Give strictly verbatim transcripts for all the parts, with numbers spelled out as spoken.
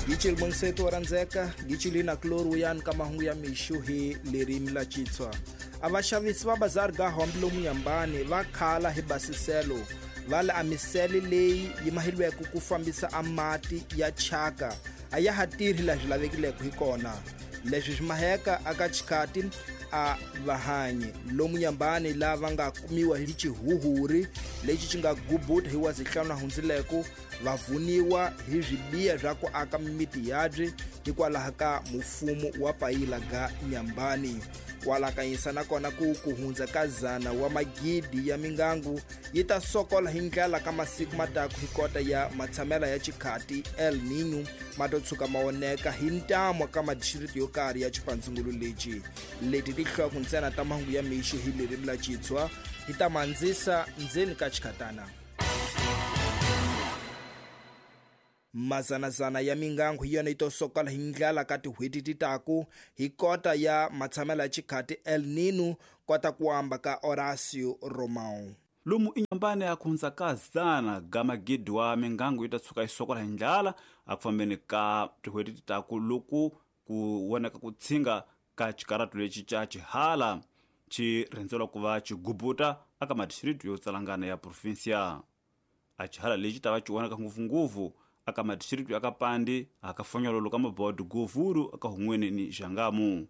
Gicil bonseto randzeka gicilina kloru yan ka mahungu ya mixo hi lerimi la Xitswa. A vaxavisi va bazar ga hombi lomu Nyambani va khala hi basiselo va la amisele leyi yi mahilweke ku fambisa a mati ya chaka a ya ha tirhi laha swi lavekileke hi kona. Leswi swi maheka aka xikati a vahanyi lomu Nyambani lava nga kumiwa hi xihuhuri lexi xi nga gubuta hi wa zihlanu hundzileko va vuniwa hi swibiya swa ku aka mimiti yabye hikwalaho ka mufumo wa payila ga Nyambani. Kwalakanyisa nakona ku ku hundza ka zana wa magidi ya mingangu yi ta sokola hi ndlela ka masiku mataku hi kota ya matshamela ya xikhati El Niño ma to tshuka ma oneka hi ntamu ka madistrikti yo karhi ya xipandzungulu lexi. Leti tinhloko ntsena ta mahungu ya mixo hi ririmi la Xitswa hi ta mandzisa ndzeni ka xikhatana. Mazanazana ya mingangu hi yona yi to sokola hi ndlela ka tin'hweti ti taku hi kota ya matshamela ya xikhati El Niño kota ku amba ka Horacio Romão. Lomu inyambani ya kuhundza ka zana ga magidi wa mingangu yi ta tshuka yi sokola hi ndlala a ku fambeni ka tin'hweti ti taku loku ku vonaka ku tshinga ka xikaratu lexi xa xihala xi rhendzelwa ku va xigubuta aka madistrikti yo tsalangana ya provinsia. A xihala lexi ta va xi vonaka ngopfungopfu aka madistrikti aka Pandi, aka Fonyololo ka Mabodo, Govuru aka Hungweni ni Xangamu.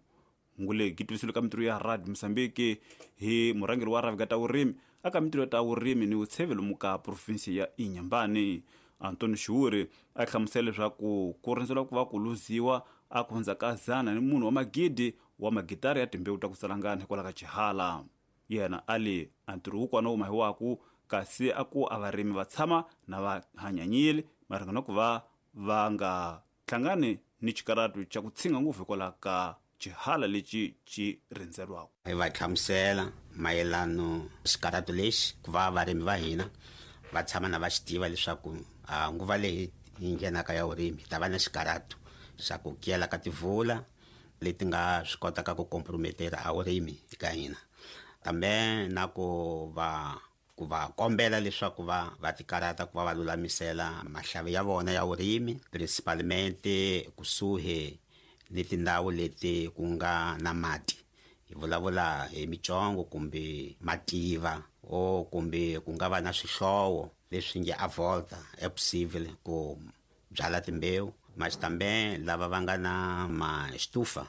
Ngule gitwisilo ka mitirho ya Radio Mozambique hi murhangeri wa rhavi ta vurimi aka mitirho ta vurimi ni vutshevelo muka provinsi ya Inhambane Antonio Xiuri a hlamusela leswaku ku rhendzelwa ku va ku luziwa a ku hundza ka zana ni munhu wa magidi wa magitari ya timbewu ta ku tsalangana hikwalaho ka xihala. Yena a li a ntirho wukwana wu mahiwaku kasi a ku a varimi va tshama na va hanyanyile maringana ku va va nga hlangani ni xikaratu xa ku tshinga ngopfu hikwalaho ka xihala lexi xi rhendzelwaka. Hi va hlamusela mayelano xikaratu lexi ku va varimi va hina va tshama na va xi tiva leswaku nguva leyi yi nghenaka ya vurimi hi ta va na xikaratu xa ku kiyela ka tivula leti nga swi kotaka ku comprometera a vurimi eka hina, kambe na ku va ku va kombela leswaku va va tikarata ku va va lulamisela mahlavi ya vona ya vurimi principalmente kusuhi ni tindhawu leti ku nga na mati. Hi vulavula hi mitsongo kumbe mativa o kumbe ku nga va na swihlowo leswi nge a volta e possible ku byala timbewu maxitambe lava va nga na maxitufa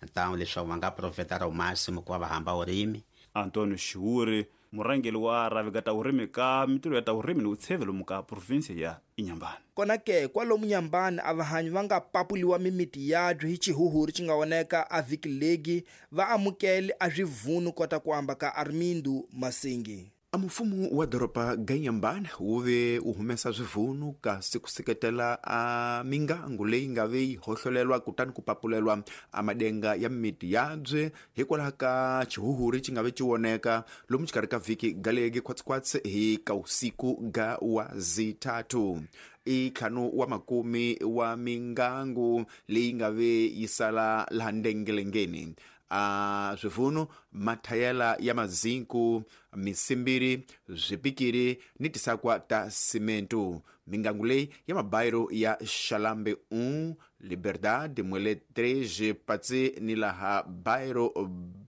ntamu leswaku va nga profeta ra máximo ku va va hamba vurimi. Antonio Xiuri murhangeri wa rhavi ta vurimi ka mitirho ya ta vurimi ni vutshevelo muka provinsi ya Inhambane. Kona ke kwalomu Nyambani a vahanyi va nga papuliwa mimiti yabyo hi xihuhuri xi nga oneka a vhiki legi va amukele a swivunu kota ku amba ka Armindo Masingi. A mfumo wa doroba ga Inhambane wu ve wu humesa swivunu kasi ku seketela a mingangu leyi nga ve yi hohlolelwa kutani ku papulelwa a madenga ya mimiti yabye hikwalaho ka xihuhuri xi nga ve xi voneka lomu xikarhi ka vhiki galegi khwatsikhwatsi hi ka usiku ga wa zithathu. I ntlhanu wa makumi wa mingangu leyi nga ve yi sala laha ndengelengeni. A swivunu mathayela ya mazinku misimbiri swipikiri ni tisakwa ta simentu. Mingangu leyi ya mabayiro ya Xalambe um Liberdade Mwele três Patsi ni laha bayiro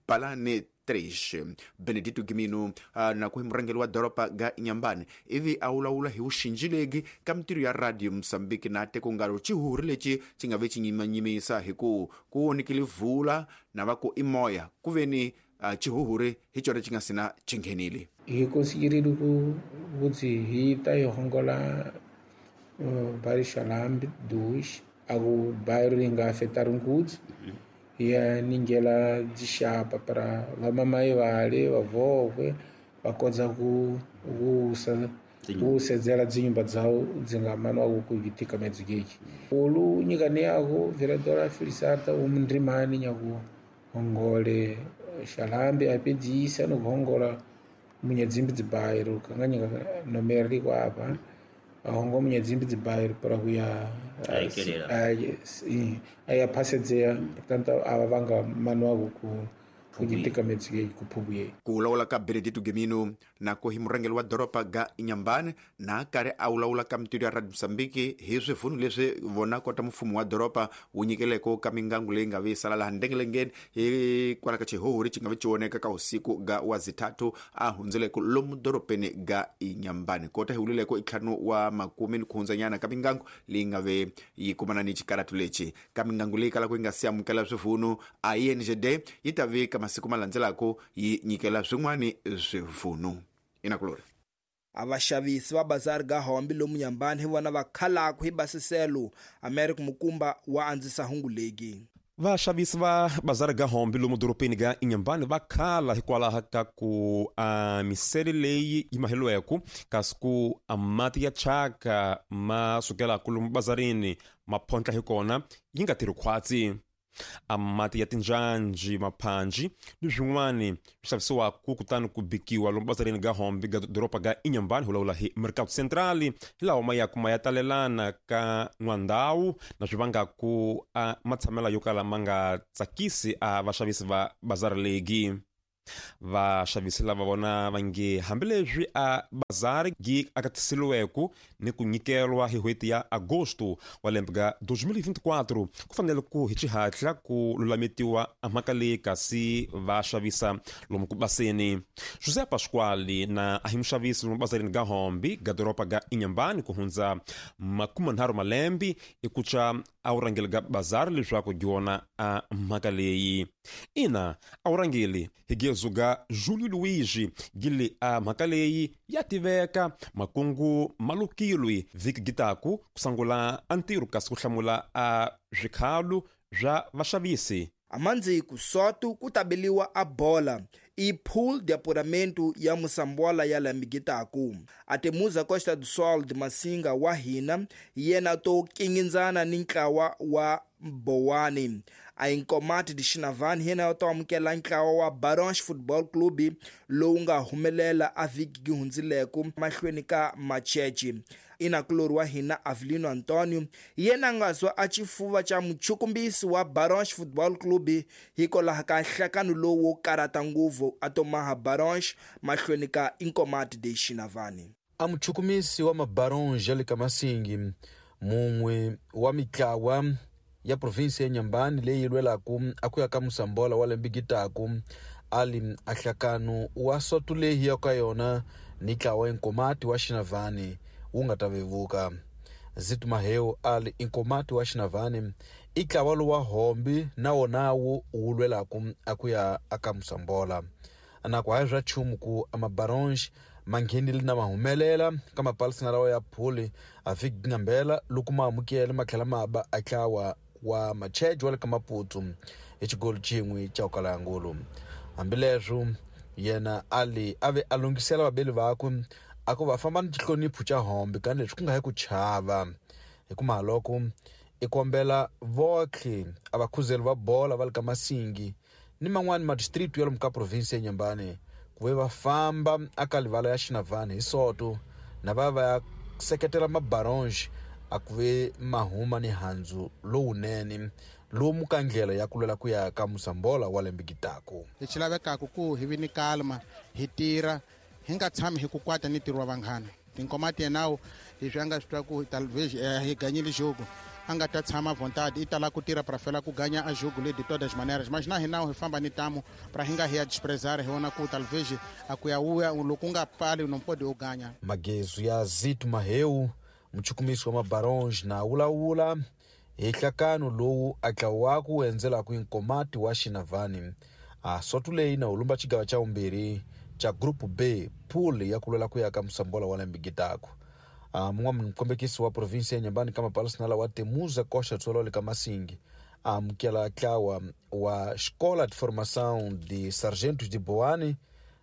Balane três. Benedito Gimino uh, na ku hi murhangeri wa doroba ga Inhambane ivi a vulavula hi vuxinjilegi ka mitirho ya Radio Mozambique na teko ngalo xihuri lexi xi nga ve xi nyimanyimisa hi ku ku vonekile vula na va ku i moya ku ve ni uh, xihuhuri hi xona xi nga sina xi nghenile. Hi konsigirile ku kuti hi ta hi hongola bairro Xalambe dois a ku bairro ri nga afetar ngutsu ya ningela dzixapa para vamamai vale vavovwe va kota ku ku ku sedzela dzinyumba dzawo dzi nga manwa ku itika medzigeki olu nyikani yako vereadora Felisarta umndrimani nyaku hongole Xalambe apedzisa no hongola munyadzimbi dzibairo kanganyika nomero liko apa ahongo munyadzimbi dzibairo para kuya aya pasedzea portanto ava vanga manwa ku Ku teka metsi ku phubuyeni. Ku vulavula ka Benedito Gemino nako hi murhangeri wa doroba ga Inhambane na karhi a vulavula ka mitido ya Radio Mozambique hi swivunu leswi vona kota mfumo wa doroba wu nyikeleko ka mingangu leyi nga vi sala laha ndengelengeni hi kwala ka xihohori xi nga vi xi voneka ka usiku ga wa zithathu a hundzeleko lomu dorobeni ga Inhambane kota hi vulileko i ntlhanu wa makume ni kuhundzanyana ka mingangu leyi nga ve yi kumana ni xikaratu lexi ka mingangu leyi kalaka yi nga si amukela swivunu a I N G D yi ta vika masiku ma landzelaka yi nyikela swin'wani swivunu. Inakulori avaxavisi va bazari ga hombi lomu Nyambani hi vona va khalaku hi basiselo. America Mukumba wa andzisa hungu legi. Vaxavisi va bazari ga hombi lomu dorobeni ga Inhambane va khala hikwalaho ka ku a misele leyi yi maheliweke kasi ku a mati ya thyaka ma sukelaka lomu bazarini ma phontlha hi kona yi nga tirhi khwatsi. A mati ya tinjanji maphanji ni swin'wani swi xavisiwaka kutani ku bikiwa lomu bazarini ga hombi ga doroba ga Inhambane hi vulavula hi Mercado Central hi lawa ma yaku ma ya talelana ka n'wandhawu na swi vangaku a matshamelo yo kala ma nga tsakisi a vaxavisi va bazari legi. Vaxavisi lava vona va nge hambileswi a bazari gi akatisiliweke ni ku nyikelwa hi n'hweti ya agosto wa lembe ga dois mil e vinte e quatro ku fanele ku hi xihatla ku lulametiwa a mhaka leyi kasi va xavisa lomu ku baseni. José Pasquale na a hi muxavisi lomu bazarini ga hombi ga doroba ga Inhambane ku hundza makume nharhu malembe i ku tsa a wu rhangeli ga bazari leswaku dyona a mhaka leyi. Ina a wu rhangeli hi gezu ga Julio Luigi gili a mhaka leyi ya tiveka makungu malukilwi vhiki gitaku ku sangula a ntirho kasi ku hlamula a swikhalu swa vaxavisi. Amandziku sotu ku tabeliwa a bola i pool de apuramento ya Moçambola ya lamigitaku. Atemuza Costa do Sol de Masinga wa hina yena to kingindzana ni ntlawa wa Bowani. A Inkomati de Xinavani yena to amukela ntlawa wa Barons Football Club lowu nga humelela a vhiki gi hundzileko mahlweni ka Machechi. Inakulori wa hina Avelino Antonio yena nga zwa a xifuva xa muchukumbisi wa Barons Football Club hikwalaho ka nhlakano lowu wo karata nguvu a tomaha Barons mahlweni ka Inkomati de Xinavani. A muchukumisi wa mabarons ya le ka Masingi mun'we wa mitlawa ya provinsi ya Inhambane leyi lwelaka a ku ya ka Moçambola wa lembe gitaku ali a nhlakano wa soto leyi ya ka yona ni ntlawa Inkomati wa Xinavani wu nga ta vevuka. Zito Maheu ali Inkomati wa Xinavani i ntlawa lowa hombi na wona wu wu lwelaka a ku ya aka Moçambola. Na ku hayi swa nchumu ku a mabaronge ma nghenile na ma humelela ka mapalisana lawa ya phuli a vhiki ngambela loko ma amukele ma tlhela ma ba a ntlawa wa Macheji wa le ka Maputo hi xigolo xin'we xa ku kala ya ngulu. Hambileswo yena ali a ve a lunghisela vabeli vakwe a ku va famba ni xihlonipho xa hombi ka leswi ku nga hi ku chava hi ku mahaloko i kombela votlhe a vakhuzeli va bola va le ka Masingi ni man'wani madistrict ya lomu ka provinsi ya Inhambane ku ve va famba aka livala ya Xinavani hi soto na va va ya seketela mabaronge a ku ve mahuma ni handzu lowunene lomu ka ndlela ya ku lwela ku ya ka Moçambola wa lembe gitaku. Lexi lavekaka ku hi vi ni kalma hi tirha hi nga tshami hi ku kwata ni ntirho wa vanghana. Tinkomati yenawo leswi a nga swi twa ku talvez hi ganyile jogo a nga ta tshama vontade i tala ku tirha pra fela ku ganha a jogo le de todas maneiras, mas na hina hi famba ni tamo pra hi nga hi ya desprezar hi vona ku talvez a ku ya uya loko u nga pali não pode u ganha. Magezu ya Zito Maheu muchukumisi wa mabaronge na wulawula hi nhlakano lowu a ntlawa ku endzelaka Inkomati wa Xinavani a soto leyi na hulumba xigava xa vumbirhi xa group B pool ya ku lwela ku ya ka Moçambola wa lembe gitaku. A mun'wana mukombekisi wa provinsi ya Inhambane ka mapalisana wa Temuza Costa do Sol le ka Masingi a amukela ntlawa wa Escola de Formação de Sargentos de Boane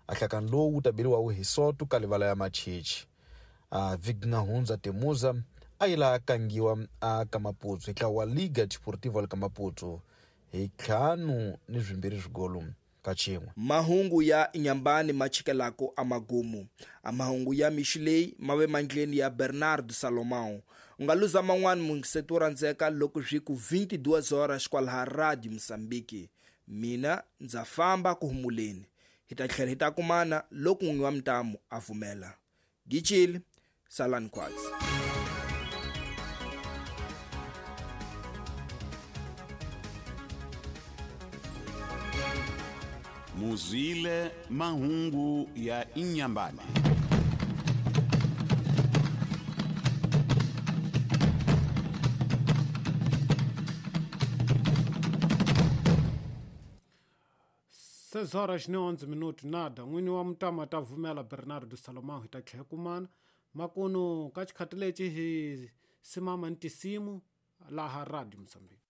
a nhlakano lowu wu ta beriwa hi soto ka livala ya Machichi. A vhiki nga hundza Temuza a yi la kangiwa a ka Maputo hi ntlawa wa Liga Desportiva le ka Maputo hi ntlhanu ni swimbirhi swigolo ka xin'we. Mahungu ya Inhambane ma chikelako a magumu. A mahungu ya mixi leyi ma ve mandleni ya Bernardo Salomão. U nga luza man'wani mungiseto wo rhandzeka loko swi ku vinte e duas horas kwalaha Radio Moçambique. Mina ndza famba ku humuleni, hi ta tlhela hi ta kumana loko n'winyi wa mitamu a pfumela. Gichili, salani khwatsi. Muzwile mahungu ya Inhambane. seis horas ni onze minutos nada n'wini wa mutama ta vumela Bernardo Salomão hi ta tlhela kumana makunu ka xikhati lexi hi simama ni tisimu laha Radio Mozambique.